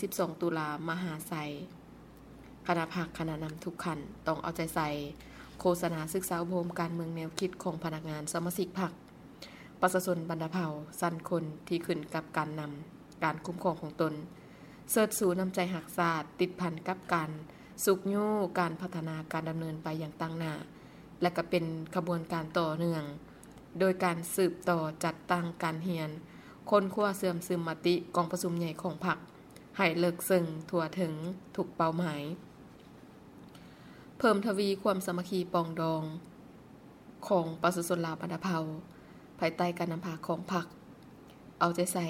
ສິບສອງ ຕຸລາ ມະຫາໄຊ, ຄະນະພັກ, ຄະນະນຳທຸກຂັ້ນ ຕ້ອງເອົາໃຈໃສ່ ໂຄສະນາສຶກສາອົບຮົມການເມືອງແນວຄິດຂອງພະນັກງານສະມາຊິກພັກ, ປະຊາຊົນບັນດາເຜົ່າ, ຊັ້ນຄົນທີ່ຂຶ້ນກັບການນຳ, ການຄຸ້ມຄອງຂອງຕົນ, ເຊີດຊູນ້ຳໃຈຮັກຊາດ ຕິດພັນກັບການຊຸກຍູ້ການພັດທະນາການດຳເນີນໄປຢ່າງຕັ້ງໜ້າ ແລະ ກໍເປັນຂະບວນການຕໍ່ເນື່ອງ ໂດຍການສືບຕໍ່ຈັດຕັ້ງການຮຽນ, ຄົ້ນຄວ້າເຊື່ອມຊຶມມະຕິກອງປະຊຸມໃຫຍ່ຂອງພັກ ໃຫ້ເລິກເຊິ່ງທົ່ວເຖິງທຸກເປົ້າໝາຍ, ເພີ່ມທະວີຄວາມສາມັກຄີປອງດອງຂອງປະຊາຊົນລາວບັນດາເຜົ່າ ພາຍໃຕ້ການນຳພາຂອງພັກ, ເອົາໃຈໃສ່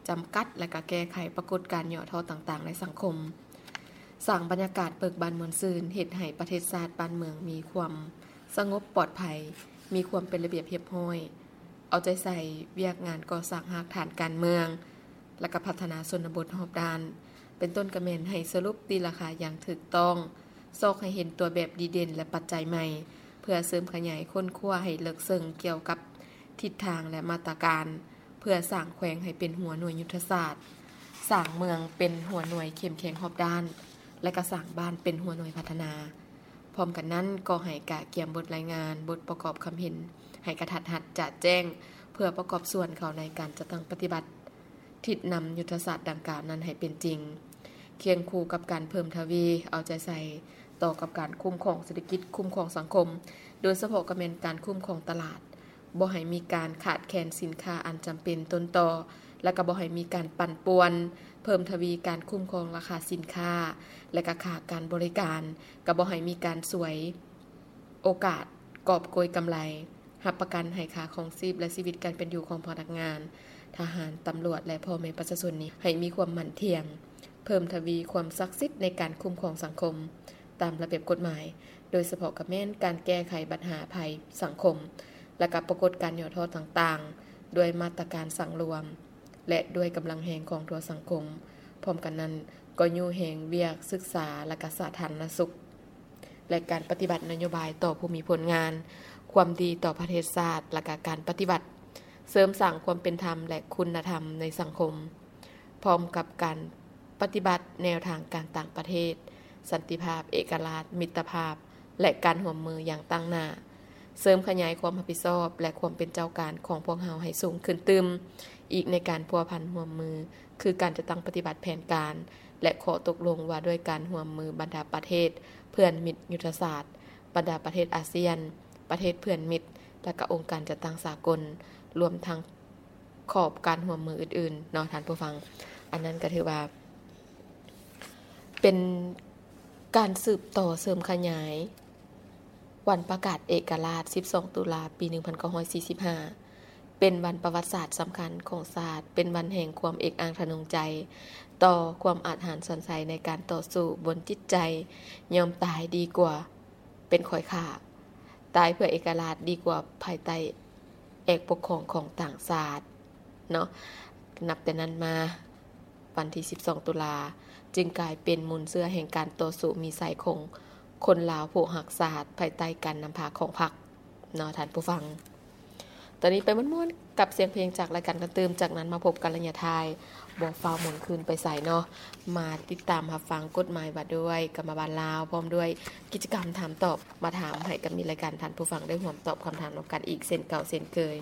ຈຳກັດ ແລະ ກະແກ້ໄຂປາກົດການຫຍໍ້ທໍ້ຕ່າງໆໃນສັງຄົມ, ສ້າງບັນຍາກາດເບີກບານມ່ວນຊື່ນ ເຮັດໃຫ້ປະເທດຊາດບ້ານເມືອງມີຄວາມສະຫງົບປອດໄພ, ມີຄວາມເປັນລະບຽບຮຽບຮ້ອຍ, ເອົາໃຈໃສ່ວຽກງານກໍ່ສ້າງຮາກຖານການເມືອງ ແລະ ກະພັດທະນາຊົນນະບົດຮອບດ້ານ, ເປັນຕົ້ນກະແມ່ນໃຫ້ສະຫຼຸບຕີລາຄາຢ່າງຖືກຕ້ອງ, ຊອກໃຫ້ເຫັນຕົວແບບດີເດັ່ນ ແລະ ປັດໄຈໃໝ່ ເພື່ອເສີມຂະຫຍາຍຄົ້ນຄວ້າໃຫ້ເລິກເຊິ່ງກ່ຽວກັບທິດທາງ ແລະ ມາດຕະການ ເພື່ອສ້າງແຂວງໃຫ້ເປັນຫົວໜ່ວຍຍຸດທະສາດ, ສ້າງເມືອງເປັນຫົວໜ່ວຍເຂັ້ມແຂງຮອບດ້ານ ແລະ ກະສ້າງບ້ານເປັນຫົວໜ່ວຍພັດທະນາ. ພ້ອມກັນນັ້ນກໍໃຫ້ກະກຽມບົດລາຍງານ, ບົດປະກອບຄຳເຫັນ ໃຫ້ກະທັດຮັດຈະແຈ້ງ ເພື່ອປະກອບສ່ວນເຂົ້າໃນການຈັດຕັ້ງປະຕິບັດ ທິດນຳຍຸດທະສາດດັ່ງກ່າວນັ້ນໃຫ້ເປັນຈິງ, ຄຽງຄູ່ກັບການເພີ່ມທະວີເອົາໃຈໃສ່ຕໍ່ກັບການຄຸ້ມຄອງເສດຖະກິດ, ຄຸ້ມຄອງສັງຄົມ, ໂດຍສະເພາະກໍແມ່ນການຄຸ້ມຄອງຕະຫຼາດ, ບໍ່ໃຫ້ມີການຂາດແຄນສິນຄ້າອັນຈຳເປັນຕົ້ນຕໍ, ແລະ ກໍບໍ່ໃຫ້ມີການປັ່ນປ່ວນ, ເພີ່ມທະວີການຄຸ້ມຄອງລາຄາສິນຄ້າ ແລະ ກໍຄ່າການບໍລິການ, ກໍບໍ່ໃຫ້ມີການສວຍໂອກາດກອບໂກຍກຳໄລ. ຮັບປະກັນໃຫ້ຄ່າຄອງຊີບ ແລະ ຊີວິດການເປັນຢູ່ຂອງພະນັກງານ, ທະຫານ, ຕຳຫຼວດ ແລະ ພໍ່ແມ່ປະຊາຊົນນີ້ ໃຫ້ມີຄວາມໝັ້ນທ່ຽງ, ເພີ່ມທະວີຄວາມສັກສິດໃນການຄຸ້ມຄອງສັງຄົມຕາມລະບຽບກົດໝາຍ, ໂດຍສະເພາະກໍແມ່ນການແກ້ໄຂບັນຫາໄພສັງຄົມ ແລະ ກໍປາກົດການຫຍໍ້ທໍ້ຕ່າງໆ ດ້ວຍມາດຕະການສັງລວມ ແລະ ດ້ວຍກຳລັງແຮງຂອງທົ່ວສັງຄົມ. ພ້ອມກັນນັ້ນກໍຍູ້ແຮງວຽກສຶກສາ ແລະ ກະສາທາລະນະສຸກ ແລະ ການປະຕິບັດນະໂຍບາຍຕໍ່ຜູ້ມີຜົນງານ, ຄວາມດີຕໍ່ປະເທດຊາດ ແລະ ກະການປະຕິບັດເສີມສ້າງຄວາມເປັນທຳ ແລະ ຄຸນນະທຳໃນສັງຄົມ, ພ້ອມກັບການປະຕິບັດແນວທາງການຕ່າງປະເທດ, ສັນຕິພາບ, ເອກະລາດ, ມິດຕະພາບ ແລະ ການຮ່ວມມືຢ່າງຕັ້ງໜ້າ, ເສີມຂະຫຍາຍຄວາມຮັບຜິດຊອບ ແລະ ຄວາມເປັນເຈົ້າການຂອງພວກເຮົາໃຫ້ສູງຂຶ້ນຕື່ມອີກໃນການພົວພັນຮ່ວມມື ຄືການຈັດຕັ້ງປະຕິບັດແຜນການ ແລະ ຂໍ້ຕົກລົງວ່າດ້ວຍການຮ່ວມມືບັນດາປະເທດເພື່ອນມິດຍຸດທະສາດ, ບັນດາປະເທດອາຊຽນ, ປະເທດເພື່ອນມິດ ແລະ ກະອົງການຈັດຕັ້ງສາກົນ, ລວມທັງຂອບການຮ່ວມມືອື່ນໆເນາະທ່ານຜູ້ຟັງ. ອັນນັ້ນກະຖືວ່າເປັນການສືບຕໍ່ເສີມຂະຫຍາຍ ວັນປະກາດເອກະລາດ ສິບສອງ ຕຸລາ ປີ ໜຶ່ງພັນເກົ້າຮ້ອຍສີ່ສິບຫ້າ ເປັນວັນປະຫວັດສາດສຳຄັນຂອງຊາດ, ເປັນວັນແຫ່ງຄວາມເອກອ້າງທະນົງໃຈຕໍ່ຄວາມອາດຫານຊານໄຊໃນການຕໍ່ສູ້ບົນຈິດໃຈ, ຍອມຕາຍດີກວ່າເປັນຂ້ອຍຂ້າ, ຕາຍເພື່ອເອກະລາດດີກວ່າພາຍໃຕ້ແອກປົກຄອງຂອງຕ່າງຊາດເນາະ. ນັບແຕ່ນັ້ນມາ ວັນທີ ສິບສອງ ຕຸລາ ຈຶ່ງກາຍເປັນມູນເຊື້ອແຫ່ງການຕໍ່ສູ້ມີໄຊຂອງຄົນລາວຜູ້ຮັກຊາດ ພາຍໃຕ້ການນຳພາຂອງພັກເນາະທ່ານຜູ້ຟັງ. ຕອນນີ້ໄປມ່ວນໆກັບສຽງເພງຈາກລາຍການກັນຕື່ມ, ຈາກນັ້ນມາພົບກັນໄລຍະທ້າຍ. ບໍ່ຟ້າວໝູນຄືນໄປໃສເນາະ, ມາຕິດຕາມຮັບຟັງກົດໝາຍວ່າດ້ວຍກຳມະບານລາວ ພ້ອມດ້ວຍກິດຈະກຳຖາມຕອບ, ມາຖາມໃຫ້ກັບມິດລາຍການທ່ານຜູ້ຟັງໄດ້ຮ່ວມຕອບຄຳຖາມນຳກັນອີກເຊັ່ນເກົ່າເຊັ່ນເຄີຍ.